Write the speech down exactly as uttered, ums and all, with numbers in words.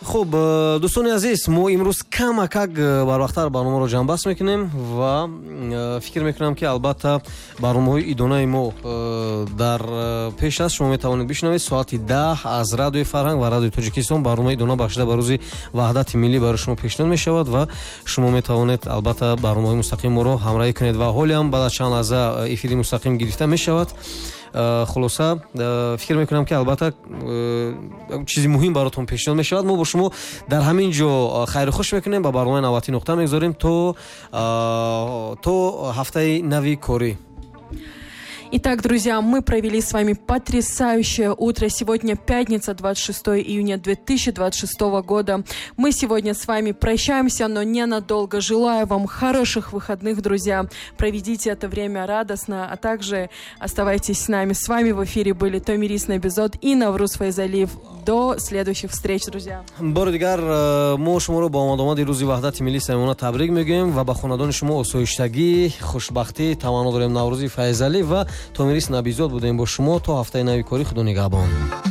Хуб, э, дӯстони азиз, мо имрӯз камакак э, барвақттар барномаро ҷамъбаст мекунем ва э, фикр мекунам, ки албатта барномаҳои идонаи мо дар пеш аст. Шумо метавонед бишунавед соати даҳ аз Радиои Фарҳанг ва Радиои Тоҷикистон барномаи идона, бахшида ба Рӯзи Ваҳдати Миллӣ, барои шумо пешниҳод мешавад ва шумо метавонед албатта барномаҳои мустақими моро ҳамроҳӣ кунед ва ҳоле ҳам баъд аз чанд лаҳза эфири мустақим гирифта мешавад. Э, хулоса, э, фикр мекунам, ки албатта э, чизи муҳим баротон пешниҳод мешавад. Мо бо шумо дар ҳамин ҷо хайру хуш мекунем, ба барномаи навбатӣ нуқта мегузорем. то то ҳафтаи нави корӣ. Итак, друзья, мы провели с вами потрясающее утро. Сегодня пятница, двадцать шестое июня две тысячи двадцать шестого года. Мы сегодня с вами прощаемся, но ненадолго. Желаю вам хороших выходных, друзья. Проведите это время радостно, а также оставайтесь с нами. С вами в эфире были Томирис Набизод и Навруз Файзалиев. До следующих встреч, друзья. Бори дигар э, мо шуморо бо омадомади Рӯзи Ваҳдати Миллӣ самимона табрик мегӯем ва ба хонадони шумо осоиштагӣ, хушбахтӣ таманно дорем. Наврӯзи Файзалӣ ва Томирис Набизод будем бо шумо. То ҳафтаи нави корӣ, худо нигаҳбон.